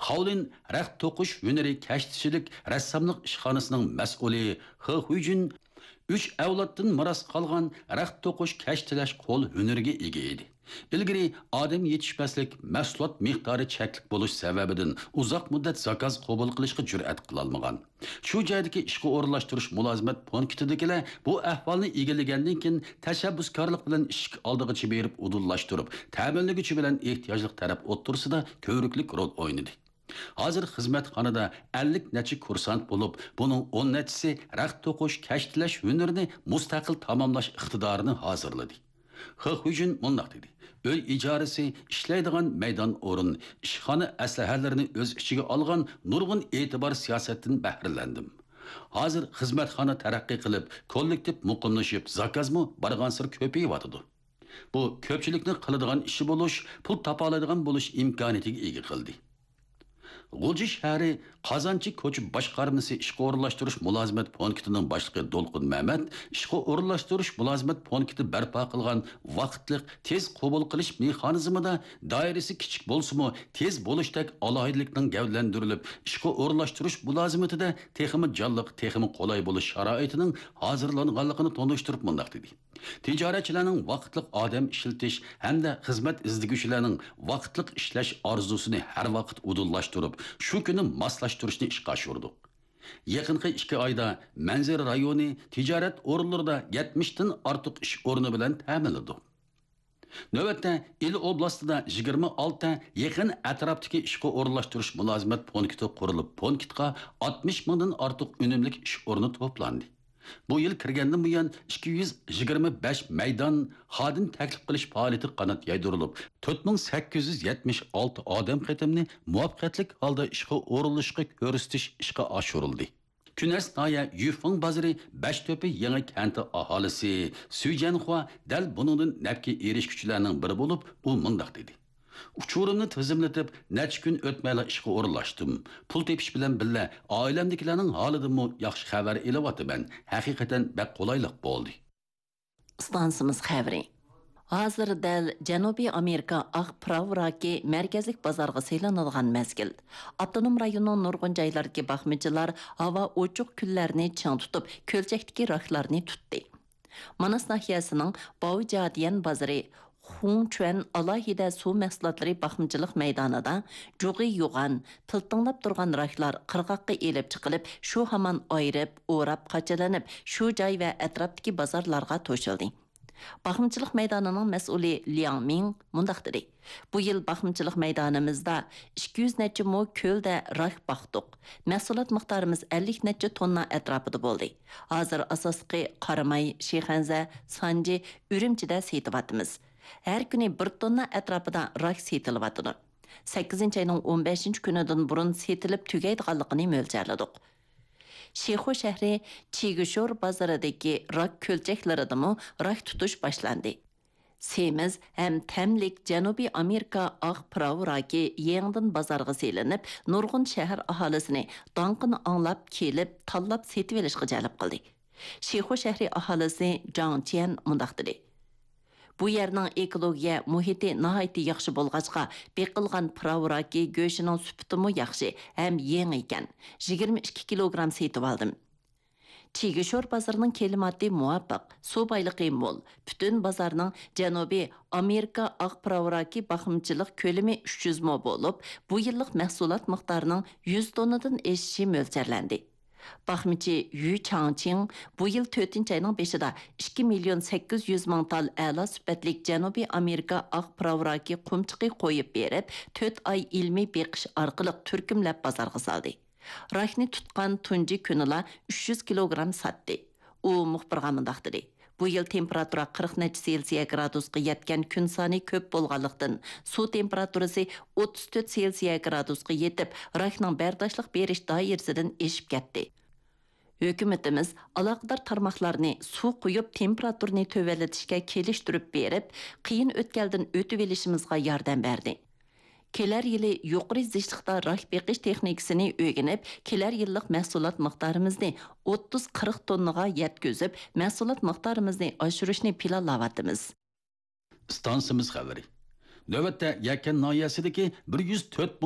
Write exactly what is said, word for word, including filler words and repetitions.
خاۋلىن رەخت توقۇش ھۈنىرى كەشتىچىلىك رەسساملىق ئىشخانىسىنىڭ مەسئۇلى خې خۇيجۈن ئۈچ ئەۋلادتىن مىراس قالغان رەخت توقۇش كەشتىلەش قول ھۈنىرىگە ئىگە ئىدى. ئىلگىرى ئادەم يېتىشمەسلىك، مەھسۇلات مىقدارى چەكلىك بولۇش سەۋەبىدىن ئۇزاق مۇددەت زاكاز قوبۇل قىلىشقا جۈرئەت قىلالمىغان. شۇ جايدىكى ئىشقا ئورۇنلاشتۇرۇش مۇلازىمەت پونكىتىدىكىلەر بۇ ئەھۋالنى ئىگىلىگەندىن كېيىن، تەشەببۇسكارلىق بىلەن ئىشىك ئالدىغىچە بېرىپ ئۇدۇللاشتۇرۇپ، تەمىنلىگۈچى بىلەن ئېھتىياجلىق تەرەپ ئوتتۇرىسىدا كۆۋرۈكلۈك رول ئوينىدى. ھازىر خىزمەتخانىدا ئەللىك نەچچە كۇرسانت بولۇپ، بۇنىڭ ئون نەچچىسى رەخت توقۇش، كەشتىلەش ھۈنىرىنى مۇستەقىل تاماملاش ئىقتىدارىنى ھازىرلىدى. خې خۇيجۈن مۇنداق دېدى: ئۆي ئىجارىسى، ئىشلەيدىغان مەيدان ئورۇن، ئىشخانا ئەسلىھەلىرىنى ئۆز ئىچىگە ئالغان نۇرغۇن ئېتىبار سىياسەتتىن بەھرىلەندىم. ھازىر خىزمەتخانا تەرەققىي قىلىپ، كوللېكتىپ مۇقىملىشىپ، زاكازمۇ بارغانسېرى كۆپىيىۋاتىدۇ. بۇ كۆپچىلىكنىڭ قىلىدىغان ئىشى بولۇش، پۇل تاپالايدىغان بولۇش ئىمكانىيىتىگە ئىگە قىلدى. غۇلجا شەھىرى قازانچى كوچا باشقارمىسى ئىشقا ئورۇنلاشتۇرۇش مۇلازىمەت پونكىتىنىڭ باشلىقى دولقۇن مەمەت ئىشقا ئورۇنلاشتۇرۇش مۇلازىمەت پونكىتى بەرپا قىلغان ۋاقىتلىق تېز قوبۇل قىلىش مېخانىزمىدا دائىرىسى كىچىك بولسىمۇ، تېز بولۇشتەك ئالاھىدىلىكنىڭ گەۋدىلەندۈرۈلۈپ، ئىشقا ئورۇنلاشتۇرۇش مۇلازىمىتىدە تېخىمۇ جانلىق، تېخىمۇ قولاي بولۇش شارائىتىنىڭ ھازىرلانغانلىقىنى تونۇشتۇرۇپ مۇنداق دېدى: تىجارەتچىلەرنىڭ ۋاقىتلىق ئادەم ئىشلىتىش ھەمدە خىزمەت ئىزدىگۈچىلەرنىڭ ۋاقىتلىق ئىشلەش ئارزۇسىنى ھەر ۋاقىت ئۇدۇللاشتۇرۇپ، شۇ كۈنى ماسلاشتۇرۇشنى ئىشقا ئاشۇردۇق. يېقىنقى ئىككى ئايدا مەنزىرە رايونى تىجارەت ئورۇنلىرىدا يەتمىشتىن ئارتۇق ئىش ئورنى بىلەن تەمىنلىدۇق. نۆۋەتتە ئىلى ئوبلاستىدا يىگىرمە ئالتە يېقىن ئەتراپتىكى ئىشقا ئورۇنلاشتۇرۇش مۇلازىمەت پونكىتى قۇرۇلۇپ، پونكىتقا ئاتمىش مىڭدىن ئارتۇق ئۈنۈملۈك ئىش ئورنى توپلاندى. بۇ يىل كىرگەندىن بۇيان، ئىككى يۈز يىگىرمە بەش مەيدان خادىم تەكلىپ قىلىش پائالىيىتى قانات يايدۇرۇلۇپ، تۆت مىڭ سەككىز يۈز يەتمىش ئالتە ئادەم قېتىمنى مۇۋەپپەقىيەتلىك ھالدا ئىشقا ئورۇنلىشىشقا كۆرسىتىش ئىشقا ئاشۇرۇلدى. كۈنەس ناھىيە يۈفېڭ بازىرى بەشتۆپە يېڭى كەنتى ئاھالىسى سۈي جيەنخۇا دەل بۇنىڭدىن نەپكە ئېرىشكۈچىلەرنىڭ بىرى بولۇپ، ئۇ مۇنداق دېدى: ئۇچۇرۇمنى تىزىملىتىپ، نەچچە كۈن ئۆتمەيلا ئىشقا ئورۇنلاشتىم. پۇل تېپىش بىلەن بىللە، ئائىلەمدىكىلەرنىڭ ھالىدىنمۇ ياخشى خەۋەر ئېلىۋاتىمەن. ھەقىقەتەن بەك قولايلىق بولدى. ئىستانسىمىز خەۋىرى. ھازىر دەل جەنۇبىي ئامېرىكا ئاق پىراۋ راكى مەركەزلىك بازارغا سېلىنىدىغان مەزگىل. ئاپتونوم رايوننىڭ نۇرغۇن جايلىرىدىكى باقمىچىلار ھاۋا ئوچۇق كۈنلەرنى چىڭ تۇتۇپ، كۆلچەكتىكى راكلارنى تۇتتى. ماناس ناھىيەسىنىڭ باۋجياديەن بازىرى خۇڭچۈەن ئالاھىدە سۇ مەھسۇلاتلىرى باقمىچىلىق مەيدانىدا جۇغى يوغان، پىلتىڭلاپ تۇرغان راكلار قىرغاققا ئېلىپ چىقىلىپ، شۇ ھامان ئايرىپ، ئوراپ، قاچىلىنىپ، شۇ جاي ۋە ئەتراپتىكى بازارلارغا توشۇلدى. باقمىچىلىق مەيدانىنىڭ مەسئۇلى لياڭ مىڭ مۇنداق دېدى: بۇ يىل باقمىچىلىق مەيدانىمىزدا ئىككى يۈز نەچچە مو كۆلدە راك باقتۇق. مەھسۇلات مىقدارىمىز ئەللىك نەچچە توننا ئەتراپىدا بولدى. ھازىر ئاساسلىقى قاراماي، شىخەنزە، سانجى، ئۈرۈمچىدە سېتىۋاتىمىز. ھەر كۈنى بىر توننا ئەتراپىدا راك سېتىلىۋاتىدۇ. سەككىزىنچى ئاينىڭ ئون بەشىنچى كۈنىدىن بۇرۇن سېتىلىپ تۈگەيدىغانلىقىنى مۆلچەرلىدۇق. شىخۇ شەھىرى چىگىشور بازىرىدىكى راك كۆلچەكلىرىدىمۇ راك تۇتۇش باشلاندى. سېمىز ھەم تەملىك جەنۇبىي ئامېرىكا ئاق پىراۋ راكى يېڭىدىن بازارغا سېلىنىپ، نۇرغۇن شەھەر ئاھالىسىنى داڭقىنى ئاڭلاپ كېلىپ، تاللاپ سېتىۋېلىشقا جەلپ قىلدى. شىخۇ شەھىرى ئاھالىسى جاڭ چيەن مۇنداق دېدى: بۇ يەرنىڭ ئېكولوگىيە مۇھىتى ناھايىتى ياخشى بولغاچقا، بېقىلغان پىراۋ راكى گۆشىنىڭ سۈپىتىمۇ ياخشى ھەم يېڭى ئىكەن. يىگىرمە ئىككى كىلوگرام سېتىۋالدىم. چىگىشور بازىرىنىڭ كىلىماتى مۇۋاپىق، سۇ بايلىقى مول. پۈتۈن بازارنىڭ جەنۇبىي ئامېرىكا ئاق پىراۋ راكى باقمىچىلىق كۆلىمى ئۈچ يۈز مو بولۇپ، بۇ يىللىق مەھسۇلات مىقدارىنىڭ يۈز توننىدىن ئېشىشى مۆلچەرلەندى. باقمىچى يۈ چاڭچىڭ بۇ يىل تۆتىنچى ئاينىڭ بېشىدا ئىككى مىليون سەككىز يۈز مىڭ تال ئەلا سۈپەتلىك جەنۇبىي ئامېرىكا ئاق پىراۋ راكى قۇمچۇقى قويۇپ بېرىپ، تۆت ئاي ئىلمىي بېقىش ئارقىلىق تۈركۈملەپ بازارغا سالدى. راكنى تۇتقان تۇنجى كۈنىلا ئۈچ يۈز كىلوگرام ساتتى. ئۇ مۇخبىرغا مۇنداق دېدى: بۇ يىل تېمپېراتۇرا قىرىق نەچچە سېلسىيە گرادۇسقا يەتكەن كۈن سانى كۆپ بولغانلىقتىن، سۇ تېمپېراتۇرىسى ئوتتۇز تۆت سېلسىيە گرادۇسقا يېتىپ، راكنىڭ بەرداشلىق بېرىش دائىرىسىدىن ئېشىپ كەتتى. ھۆكۈمىتىمىز ئالاقىدار تارماقلارنى سۇ قۇيۇپ، تېمپېراتۇرىنى تۆۋەنلىتىشكە كېلىشتۈرۈپ بېرىپ، قىيىن ئۆتكەلدىن ئۆتۈۋېلىشىمىزغا ياردەم بەردى. كېلەر يىلى يۇقىرى زىچلىقتا راك بېقىش تېخنىكىسىنى ئۆگىنىپ، كېلەر يىللىق مەھسۇلات مىقدارىمىزنى ئوتتۇز قىرىق توننىغا يەتكۈزۈپ، مەھسۇلات مىقدارىمىزنى ئاشۇرۇشنى پىلانلاۋاتىمىز. ئىستانسىمىز خەۋىرى. نۆۋەتتە يەكەن ناھىيەسىدىكى بىر يۈز تۆت مىڭ